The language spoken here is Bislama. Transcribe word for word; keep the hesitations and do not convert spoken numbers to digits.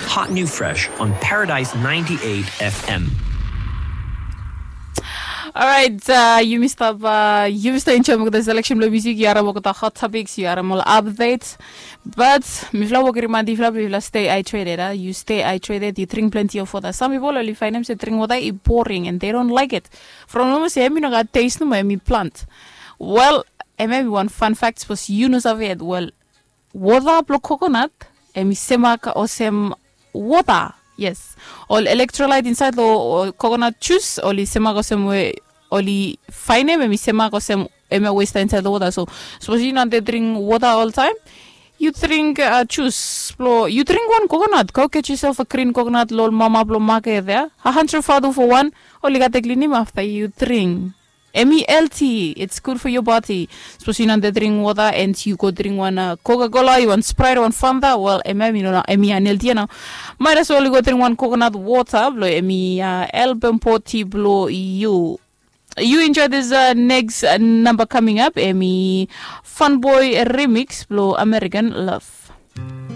Hot new fresh on Paradise ninety-eight F M. Alright, uh, yumi stap uh, yumi stap enjoy mogo the selection lo music, yu harim mogo the hot topics, yu harim ol updates. But mifla wok rimandi mifla, mifla stay hydrated, uh. You stay hydrated, you drink plenty of water. Some people only find them say drink water is boring and they don't like it. From almost say emi no got taste no emi plant. Well, emi one fun fact was you know of it. Well, water blo coconut emi semak osem water. Yes. Ol electrolyte inside lo coconut juice oli semak osem we oli fainem emi semak osem emi westa inside lo water. So suppose you no dey drink water all time, you drink uh, juice blo you drink one coconut. Go get yourself a green coconut lo mama blo market there. A hundred fatu for one. Oli gat teklinim after you drink. Emi healthy, it's good for your body. Suppose you no dey drink water and you go drink one uh, Coca-Cola, you want Sprite, one Fanta, well, emi emi no emi unhealthy now. Might as well you go drink one coconut water, blo emi uh, help and body blo you. You enjoy this uh, next uh, number coming up, emi Fun Boy remix blo American Love.